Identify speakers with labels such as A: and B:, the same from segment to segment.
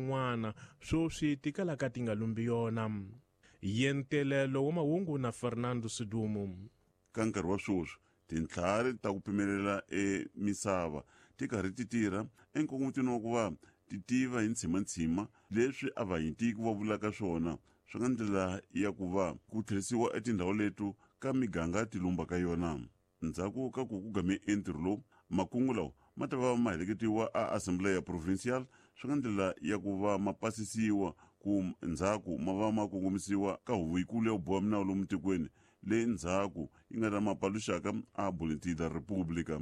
A: N'wana swoswi ti kalaka ti nga lumbi yona. Yentelelo wa mahungu na Fernando Sidumo.
B: Ka nkarhi wa swoswi, tintlhari ta ku pimelela e misava ti karhi ti tirha enkongomitweni wa ku va ti tiva hi ntshima-ntshima leswi avanyitiko va vulaka swona swi nga ndlela ya ku va ku tlherisiwa etindhawu leto ka miganga ti lumba ka yona. Ndzhaku ka ku ku game entirho lowu, makungu lawa ma ta va ma heleketiwa a Assembleia Provincial swi nga ndlela ya ku va ma pasisiwa ku ndzhaku ma va ma kongomisiwa ka huvo yikulu ya ku boha minawu lomu tikweni leyi ndzhaku yi nga ta ma paluxaka a Boletim da República.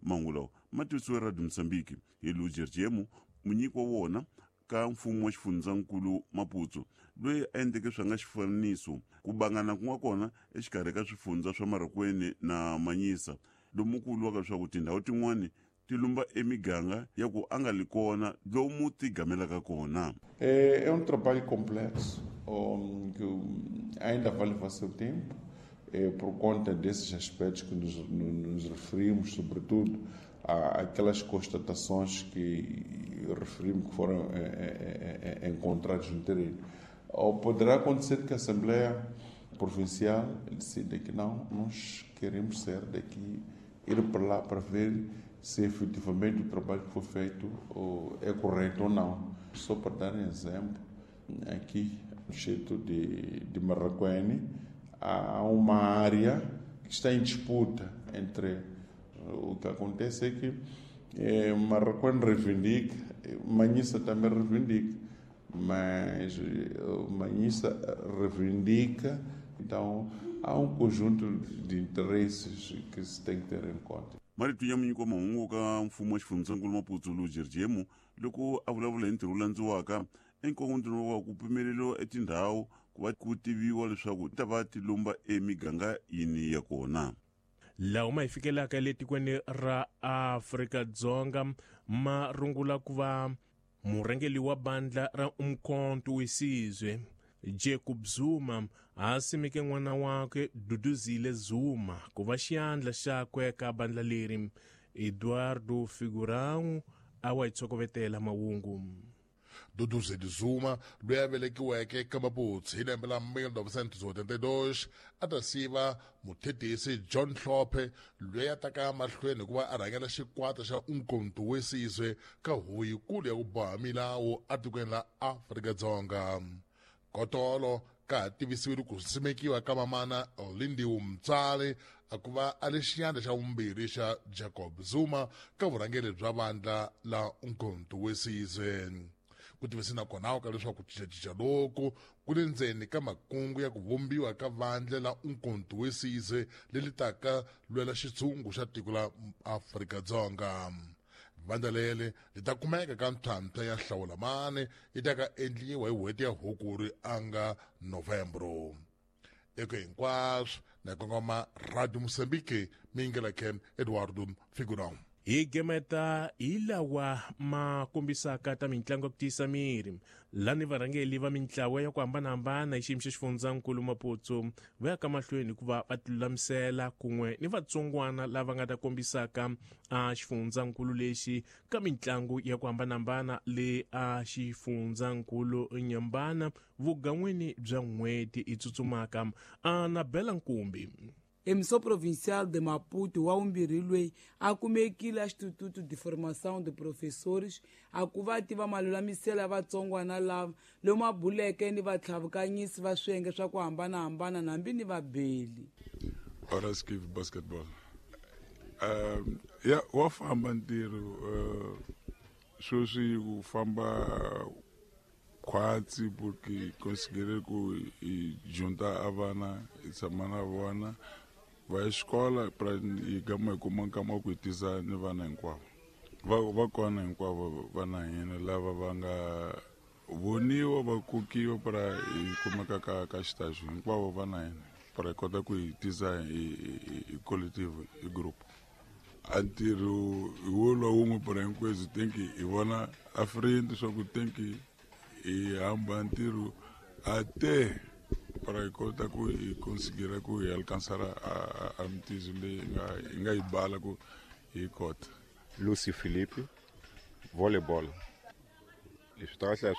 B: Mahungu lawa ma tivisiwe Radio Moçambique hi Luger Jemu, munyiki wa wona ka mfumo wa xifundzankulu Maputo, loyi a endleke swa nga xifaniso ku bangana ku nga kona exikarhi ka swifundza swa Marokweni na Manyisa, lomu ku vuriwaka leswaku tindhawu tin'wani ti lumba emiganga ya ku a nga li kona lomu ti gamelaka kona.
C: É trabalho complexo que ainda vai levar seu tempo, por conta desses aspectos que nos referimos, sobretudo aquelas constatações que referimos que foram encontradas no terreno. Ou poderá acontecer que a Assembleia Provincial decida que não, nós queremos sair daqui, ir para lá para ver se efetivamente o trabalho que foi feito é correto ou não. Só para dar um exemplo, aqui no distrito de Marracuene, há uma área que está em disputa entre. O que acontece é que Marracuene reivindica, Manhissa também reivindica, mas Manhissa reivindica, então há um conjunto de interesses que se tem que ter em conta.
B: Marito ya munyiki wa mahungu ka mfumo wa xifundzankulu Maputo Luger Jemu loko a vulavula hi ntirho wu landziwaka enkongontweni wa ku pfumeleriwa etindhawu ku va ku tiviwa leswaku ti ta va ti lumba emiganga yini ya kona.
A: Lawa ma hi fikelaka le tikweni ra Afrika-Dzonga ma rungula ku va murhangeri wa bandla ra Umkhonto weSizwe Jacob Zuma a simeke n'wana wakwe Duduzile Zuma ku va xiyandla xakwe ka bandla leri. Eduardo Figurão a wa hi tshokovetela mahungu.
D: Duduzile Zuma, loyi a velekiweke eka Maputsu hi lembe la 1982, a ta siva muthetisi John Hlophe, loyi a taka mahlweni hikuva a rhangela xikwata xa Umkhonto weSizwe ka huvo yikulu ya ku boha milawu atikweni la Afrika-Dzonga. Kotolo ka ha tivisiwile ku simekiwa ka mamana Lindiwe Mtsali a ku va a li xiyandla xa vumbirhi xa Jacob Zuma ka vurhangeri bya vandla la Umkhonto weSizwe. Ku tivise na kona ka leswaku ku cincacinca loku ku le ndzeni ka makungu ya ku vumbiwa ka vandla la Umkhonto weSizwe leri taka lwela xitshungu xa tiko la Afrika-Dzonga. Vandla leri li ta kumeka ka ntlhantlha ya hlawulamani yi ta ka endliwa hi n'hweti ya Hukuri a nga Novembro. Eko hinkwaswo na kongoma Radio Mozambique mingela Ken Eduardo Figurão.
A: Hi gemeta hi lawa ma kombisaka ta mitlangu ya ku tiyisa miri lani varhangeli va mintlawa ya ku hambanahambana hi xiyimo xa xifundzankulu Maputo va ya ka mahlweni hikuva va tilulamisela kun'we ni vatsongwana lava nga ta kombisaka a xifundzankulu lexi ka mitlangu ya ku hambanahambana le a xifundzankulu Nyambana vugan'wini bya n'hweti i tsutsumaka a na Bela Nkumbi.
E: Emissão Provincial de Maputo wa vumbirhi loyi a kumekile a Instituto de Formação de Professores a ku va tiva malulamiselo ya vatsongwana lava lomu a buleke ni vatlhavukanyisi va swiyenge swa ku hambanahambana nambi ni vabeli.
F: Horas Give basketball. Ya wa famba ntirho sweswi ku famba khwatsi porque considerei ku hi junta a vana hi tshama na vona va ya xikola pra hi gama hi kuma nkama wa ku hi tisa ni vana hinkwavo va va kona hinkwavo vana hina lava va nga voniwa va kokiwa pra hi kumeka ka ka xitaxo hinkwavo vana hina pra hi kota ku hi tisa hi hi collective hi group a ntirho hi wo lwa wun'we pra hinkwenu think hi vona a friend swa ku think hi hamba ntirho a te para hi kota ku hi considera ku hi alcançar a mitizo leyi hi nga yi bala ku hi kota.
G: Lucy Philippe, volleyball. Leswi ta kahle.